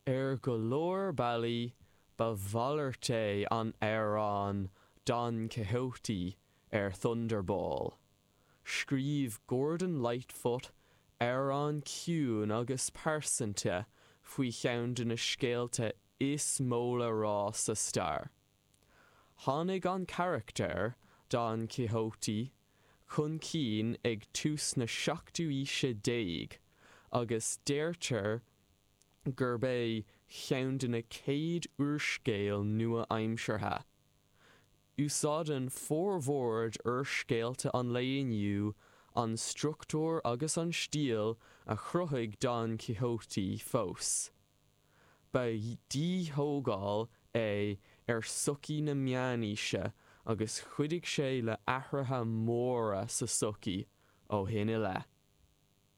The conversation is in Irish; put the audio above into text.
Ar go leor bealaí, ba mhalairt é an amhrán Don Quixote ar Thunderball. Scríobh Gordon Lightfoot amhrán ciúin agus pearsanta faoi cheann de na scéalta is mó le rá sa stair. Tháinig an carachtar, Don Quixote, chun cinn ag tús na seachtú haoise déag agus deirtear gurb é cheann de na chéad úrscéil nua-aimseartha. Úsáideann formhór d'úrscéalta an lae inniu an struchtúr agus an stíl a chruthaigh Don Quixote fós. Ba dhíthógáil é ar sochaí na meánaoise agus chuidigh sé le athruithe móra sa tsochaí ó shin i leith.